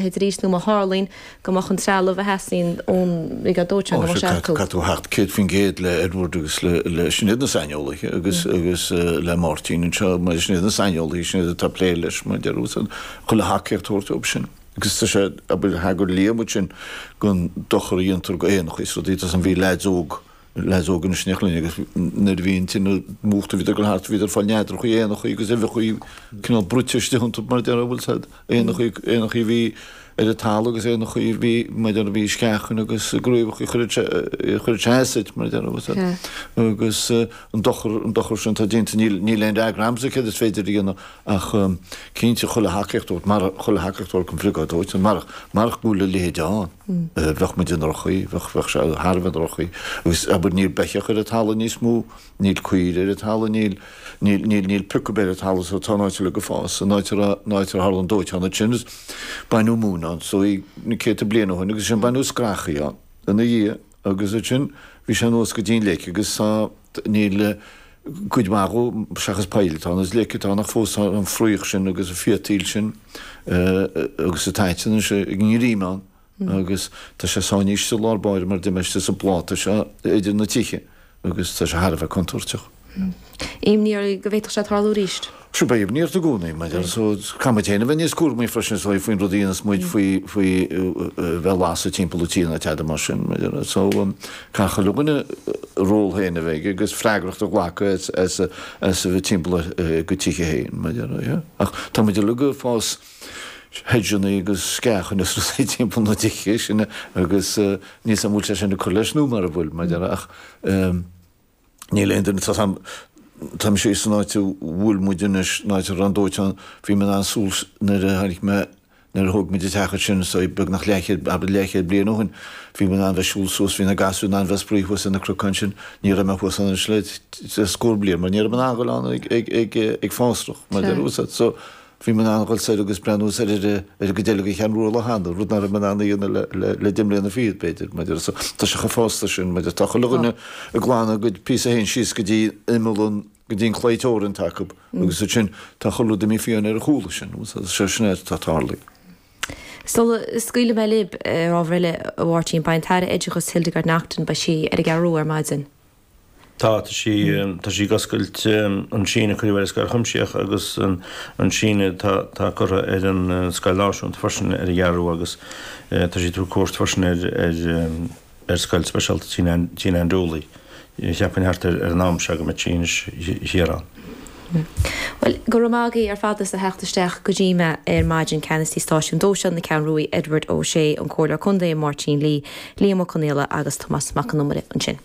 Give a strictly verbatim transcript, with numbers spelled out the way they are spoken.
leithéid arís nó má tharlaíonn go mbeadh an trealamh a theastaíonn ón mBriogáid Dóiteáin go mbeadh sé acu. Caithfidh tú theacht céad faoin gcéad le Edward agus le sin iad na saineolaithe agus agus le Máirtín anseo mar sin iad na saineolaithe sin iad atá ag plé leis mar deir tú chuile thacaíocht a thabhairt dóibh sin. Agus tá sé abair thagair Liam ansin don dochar a dhéantar go éanacha is rudaí tá san bhí leaids óg leaids óg anois in éineacht linn agus nuair a bhí an tine múchta bhíodar ag dul thart bhíodar ag fáil neadrachaí éanachaí agus uibheachaí cineál bruite istigh iontu mar a déarfá bhfuil said éanachaí éanachaí a bhí ar an talamh agus éanachaí a bhí mar a déarfá bhí sceachain agus gcraobhachaí chuireadh sé chuireadh sé as duit mar a déarfá bhfuil said agus an dochar an dochar sin atá déanta níl níl aon fhreagra a'msa céard is féidir a dhéanamh ach cinnte chuile thacaíocht a thabhairt mar chuile thacaíocht a thabhairt don bhriogáid dóiteáin marach marach go bhfuil a leithéid ann. Bheadh muid i ndroch-chaoi, bheadh bheadh sé thar a bheith i ndroch-chaoi. Agus abair níl beithíoch ar an talamh níos mó, níl caoire ar an talamh, níl níl níl níl pioc ar bith ar an talamh so tá an áit uilig ag fás, an áit a raibh an áit ar tharla an dóiteán ansin is baineadh móin ann so í na céadta bliain ó shin agus ansin baineadh scrachaí ann ina dhiaidh agus ansin bhí sé anuas go dtí an leic agus tá níl cuid mhaith dhó seachas poill atá ann is leic atá ann ach fós tá an fraoch sin agus an phiotaíl sin agus an t-aiteann anois ag an ngreim ann agus tá sé sáinnithe istigh i lár báire mar d'imigh istigh sa bpláta seo idir na tithe agus tá sé thar a bheith contúirteach. Imní oraibh go bhféadfadh sé tarlú arís? Sure beidh imní ort i gcónaí maidir so caithfidh muid féin a bheith níos cúramaí freisin is dóigh faoin rud a dhéanas muid faoi faoi bheith ag lasadh timpeall an tí nó tada mar sin maidir so caithfidh chuile dhuine a ról féin a bheith aige agus freagracht a ghlacadh as as as a bheith timpeall ar a gcuid tithe féin maidir yeah ach tá muid uilig ag fás hedgeanna agus sceachanna is rudaí timpeall na dtithe sin agus níl 'fhios a'm an bhfuil sé sin ag cur leis nó mara bhfuil maidir ach Níl aon duine, tá 's a'm, tá mise san áit a bhfuil muid anois, an áit a raibh an dóiteán, bhí mé in ann siúl nuair a tháinig mé, nuair a thóg muid an teach ansin, so beagnach leathchéad, abair leathchéad bliain ó shin, bhí mé in ann bheith ag siúl suas, bhí na gasúir in ann bheith ag spraoi thuas ar na cnocáin sin, ní raibh mé thuas ann anois le le scór bliain mar ní raibh mé in ann dhul ann ag ag ag ag fásrach, mar a déarfá, so Bhí mé in ann a dhul soir agus breathnú soir ar ar an gcuid eile de Cheathrú Rua cheana, rud nach raibh mé in ann a dhéanamh le le le deich mbliana fichead, b'fhéidir, maidir so tá sé chomh fásta sin, maidir tá chuile dhuine ag glanadh a gcuid píosa féin síos go dtí imeall an go dtí an claí teorann atá acu agus ansin tá chuile rud imithe fiáin ar a chúla sin, so sin é atá tarlaithe. Sula scaoilfidh mé libh, ar ábhar eile, a Mháirtín, beidh an tAire Oideachais Hildegarde Naughton, beidh sí ar an gCeathrú Rua ar maidin. Tá, tá sí, tá sí ag oscailt an síneadh a cuireadh ar an Scoil Chuimsitheach agus an síneadh atá, atá curtha ar an Scoil Náisiúnta freisin ar an gCeathrú Rua agus tá sí ag tabhairt cuairt freisin ar, ar, ar Scoil Speisialta Tina Ann Dooley. Cheapfainn thart ar an am seo go mbeidh sí anois thiar ann. Bhuel, go raibh maith agaibh ar fad as a theacht isteach go dtí mé ar maidin, Ceannasaí Stáisiún Dóiteáin na Ceathrún Rua, Edward Ó Sé, an Comhairleoir Contae, Máirtín Lee, Liam Ó Conaola agus Tomás Mac Con Iomaire ansin.